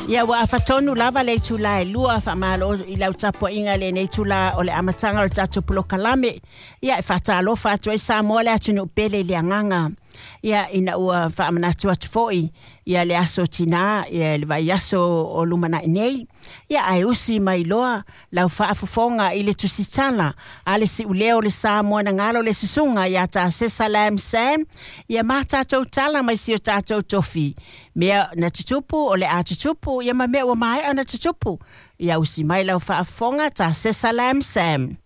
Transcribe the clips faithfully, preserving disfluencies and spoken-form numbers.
Ia ua afatonu lava le itula e lua faamalo i lau tapuaiga lenei itula o le amataga o le tatou polokalame. Ia e faatalofa atu ai Samoa le atunuu pele i le agaga. Ia ina ua faamanatu atu foi ia le aso tina ia le vaiaso o lumanai nei. Ia ae usi mai loa lau faafofoga i le tusitala a le siuleo le Samoa na galo le susuga ia ta Sesalam Sam. Ia ma tatou tala mai si o tatou tofi. Mea na tutupu o le a tutupu ia ma mea ua maea na tutupu. Ia usi mai lau faafofoga ta Sesalam Sam.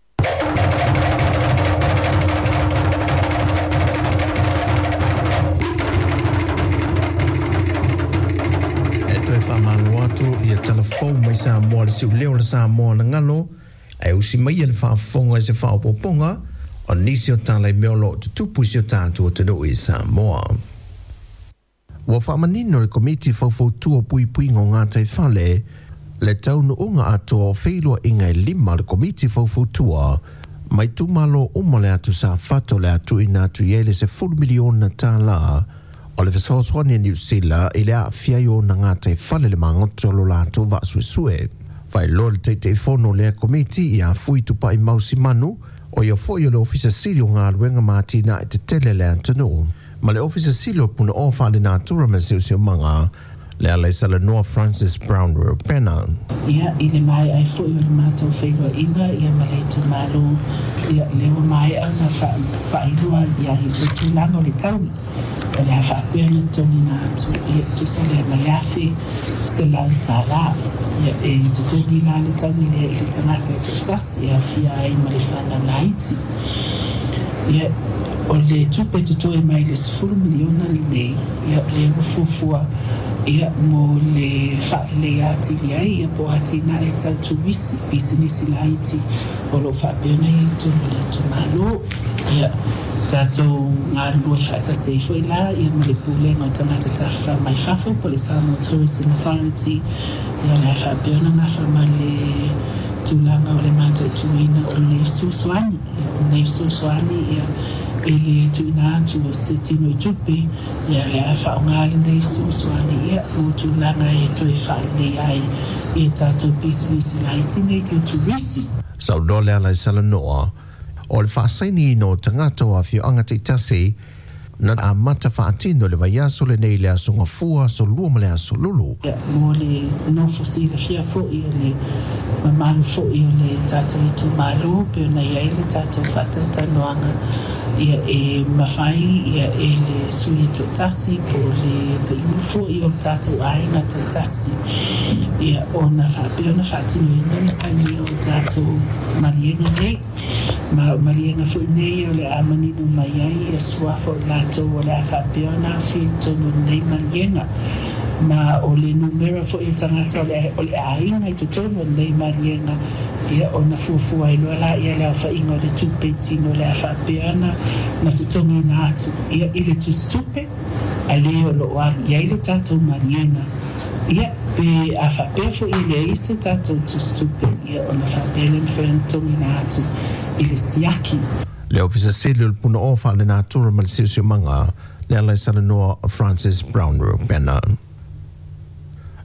Ia telefon mai Samoa le siuleo le Samoa na ngalo e usi mai le faafofoga i se faaopoopoga o nisi o tala i mea o loo tutupu i si o tatou atunuu i Samoa. Ua faamanino le Komiti Faufautua Puipuiga o Gataifale le taunuuga atoa o feiloaiga e lima le Komiti Faufautua mai itumalo uma le atu Safata o le a tuuina atu i ai le sefulu miliona tālā o le fesoasoani a Niu Sila i le aafia ai o ona gataifale le magoto o lo latou vaasuesue. Faailoa le Taitaifono o lea komiti ia Fui Tupai Mausimanu o ia foi o le Ofisa Sili o Galuega ma Atinae Tetele le atunuu ma le Ofisa Sili o Punaoa Faalenatura ma Siosiomaga le ala i salanoa Francis Brown Rupena. Ia i le mai ai foi o le matou feiloaiga ia ma le itumalo ia le ua maea ona faailoa ia i le tulaga o le taui o le a faapea ona totogiina atu ia tusa lea ma le afe selau tālā. Ia e totogi la le taui lea i le tagata e toatasi e aofia ai ma le fanau laiti. Ia o le tupe totoe mai le sefulu miliona lenei ia le ua fuafua ia mo le faaleleia atili ai ia po o atinae tau turisi pisinisi laiti o loo faapea ona iai totonu o le itumalo. Ia tatou galulue faatasi ai foi la ia ma le pulega o tagata tafafa mai fafo po o le Samoa Tourism Authority ia o le a faapea ona gafa ma le tulaga o le mataituina o lenei fesoasoani. Ia o lenei fesoasoani ia i le tuuina atu o se tino i tupe ia le a faaaoga lenei fesoasoani ia mo tulaga e toe faalelei ai ia tatou pisinisi laiti nei tau turisi. Saunoa le ala i salanoa o le faasainiina o tagata o afioaga taitasi na amata faatino le vaiaso lenei le aso Gafua, aso Lua ma le aso Lulu. Ia mo le nofo silafia foi o le mamalu foi o le tatou itumalo pe ona i ai le tatou faatalatalanoaga ia e mafai ia e le sui toatasi po o le taiulu foi o le tatou aiga taitasi ia ona faapea ona faatinoina le sainia o le tatou maliega nei. Ma o maliega foi nei o le a manino mai ai ia suafa o latou o le a faapea ona aofia i totonu o lenei maliega. Ma o le numera foi o tagata o le, o le aiga i totonu o lenei maliega ia ona fuafua ai loa la ia le aofaiga o le tupe i tino o le a faapea ona na totogiina atu ia i le tusitupe a le o loo alu i ai le tatou maliega. Ia pe a faapea foi e leai se tatou tusitupe ia ona faapea le mafai ona totogiina atu i le siaki. Le Ofisa Sili o le Punaoa Faalenatura ma le Siosiomaga le ala i salanoa Francis Brown Rupena.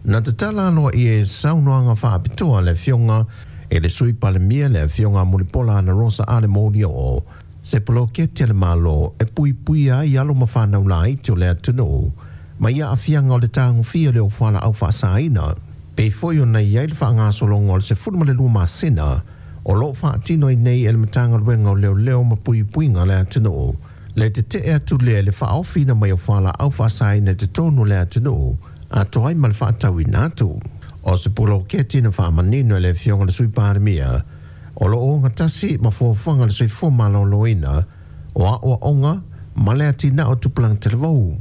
Na tatala aloa i e saunoaga faapitoa le afioga e le Sui Palemia le afioga Mulipola Ana Rosa Ale Molioo se poloketi a le Malo e puipuia ai alo ma fanau laiti o le atunuu mai aafiaga o le tagofia o le ofala au faasaina. Pei foi ona i ai le faagasologa o le sefulu ma le lua masina o loo faatino ai nei e le Matagaluega o Leoleo ma Puipuiga le atunuu le tetee atu lea i le faaofiina mai o fualaau faasaina i totonu o le atunuu atoa ai ma le faatauina atu. O se poloketi na faamanino e le afioga le Sui Palemia o loo ogatasi ma fuafuaga le soifua malōlōina o aoaoga ma le atinao o tupulaga talavou.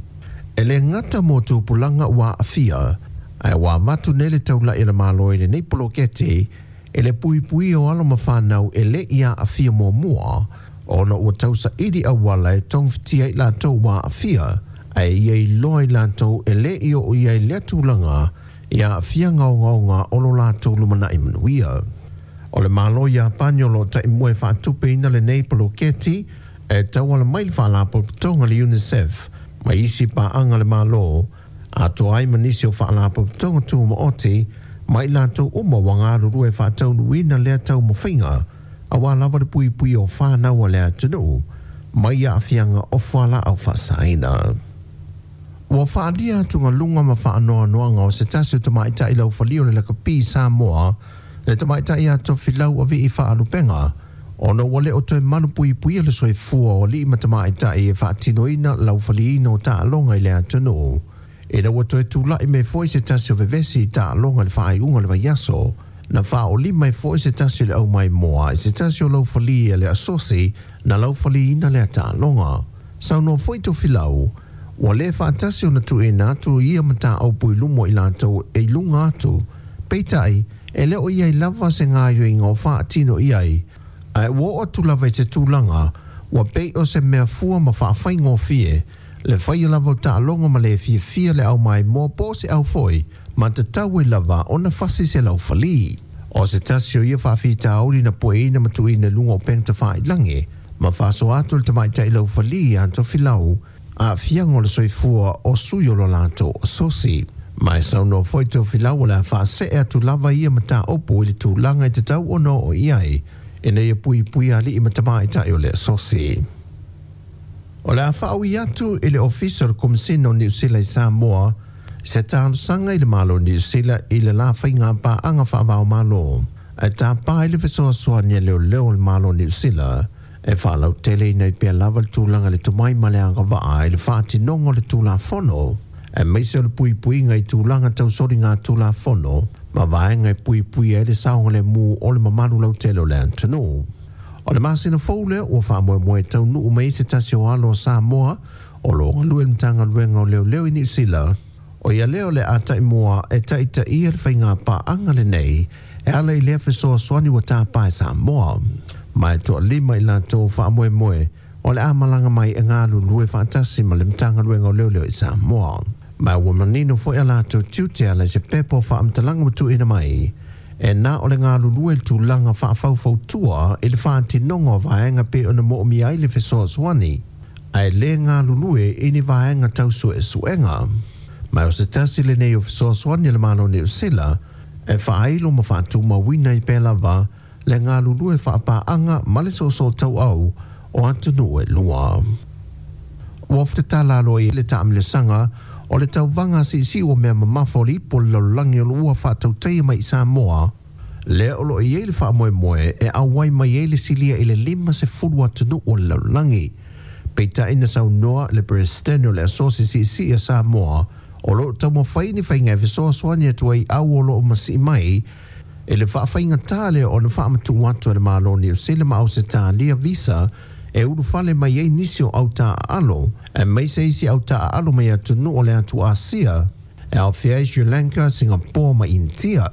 E le gata mo tupulaga ua aafia ae ua avatu nei le taulai a le Malo i lenei poloketi e le puipuia o alo ma fanau e le i aafia muamua ona ua tausaili auala e togafitia ai latou ua aafia ae ia iloa i latou e le i oo i ai lea tulaga i aafiaga ogaoga o lo latou lumanai manuia. O le Malo Iapani o loo taimua e faatupeina lenei poloketi e tauala mai le faalapotopotoga le UNICEF ma isi paaga le Malo Atoa ai ma nisi o faalapotopotoga tumaoti ma i latou uma ua galulue faataunuuina lea taumafaiga auā lava le puipui o fanau a le atunuu mai aafiaga o fualaau faasaina. Ua faaalia atugaluga ma faanoanoaga o se tasi o tamaitai laufali o le lakapi Samoa le tamaitai ia Tofilau Avii Faalupega ona ua le o toe malu puipuia le soifua o alii ma tamaitai e faatinoina laufaliina o taaloga i le atunuu. Ina ua toe tula'i mai foi se tasi o vevesi i taaloga i le faaiuga o le vaiaso, na faaolima ai foi se tasi o le aumaimoa i se tasi o laufali a le asosi na laufaliina lea taaloga. Saunoa foi Tofilau, ua le faatasi ona tuuina atu ia mataupu i luma o i latou e i luga atu, peitai e le o i ai lava se gaoioiga o faatino i ai, ae ua oo atu lava i se tulaga ua pei o se mea fua ma faafaigofie le faia lava o taaloga ma le fiafia le aumaimoa po o se au foi ma tatau ai lava ona fasi se laufali. O se tasi o ia faafitauli na pueina ma tuuina i luga o upega tafailagi ma faasoa atu le tamaitai laufali ia Tofilau aafiaga o le soifua o sui o lo latou asosi. Ma e saunoa foi Tofilau o le a faasee atu lava ia mataupu i le tulaga e tatau ona oo i ai ina ia puipuia alii ma tamaitai o le asosi. O le a faaui atu i le Ofisa o le Komesina o Niu Sila i Samoa se talosaga i le Malo o Niu Sila i le la faiga paaga faava-o-Malo ae tapa ai le fesoasoani a leoleo o le Malo o Niu Sila e faalauteleina ai pea lava le tulaga i le tomai ma le agavaa i le faatinoga o le Tulafono aemaise o le puipuiga i tulaga tau soligatulafono ma vaega e puipuia ai le saogalemu o le mamalu lautele o le atunuu. O le masina fou lea ua faamoemoe e taunuu mai ai se tasi o alo o Samoa o lo o galue i le Matagaluega o Leoleo i Niu Sila, o ia lea o le a taimua e taitaia le faiga paaga lenei e ala i lea fesoasoani ua tapa e Samoa. Ma e toalima i latou faamoemoe o le a malaga mai e galulue faatasi ma le Matagaluega o Leoleo i Samoa. Ma ua manino foi a latou tiute e ala i se pepa o faamatalaga ua tuuina mai e na o le galulue i le tulaga faafaufautua i le faatinoga o vaega pei ona moomia ai le fesoasoani, ae le galulue i ni vaega tau suesuega. Ma o se tasi lenei o fesoasoani a le Malo o Niu Sila e faailo ma faatumauina ai pea lava le galulue faapaaga ma le soosoo tauau o atunuu e lua. Ua tatala aloaia le taamilosaga o le tauvaga siisii o mea mamafa o le Ipu o le Lalolagi o lo o ua faatautaia mai i Samoa, lea o lo o i ai le faamoemoe e auai mai ai le silia i le lima sefulu atunuu o le lalolagi. Peitai na saunoa le Peresetene o le Asosi Siisii a Samoa o lo o taumafai ni faiga e fesoasoani atu ai au o lo o masii mai i le faafaigatā lea ona faamatuu atu e le Malo o Niu Sila ma Ausetalia visa e ulufale mai ai nisi o au taaalo aemaise isi au taaalo mai atunuu o le atu Asia e aofia ai Sri Lanka, Singapore ma Initia.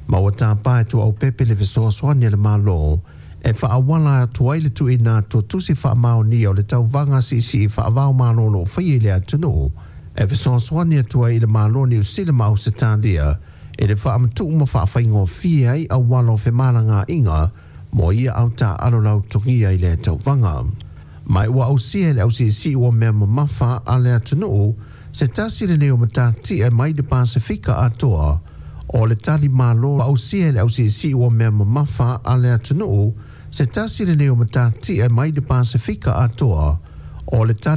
Ma ua tapa e Tuaaupepe le fesoasoani a le Malo e faaauala atu ai le tuuina atu o tusi faamaonia o le tauvaga siisii faava-o-Malo o lo o faia i le atunuu e fesoasoani atu ai i le Malo o Niu Sila ma Ausetalia i le faamatuu ma faafaigofie ai auala o femalagaaiga mo ia au taaalo lautogia i lea tauvaga. Ma ua ausia e le ausiisii o mea mamafa a le atunuu se tasi lenei o matatia mai le Pasefika atoa o le tali malo ausia e le ausiisii o mea mamafa a le atunuu se tasi lenei o matatia mai le Pasefika atoa o le tali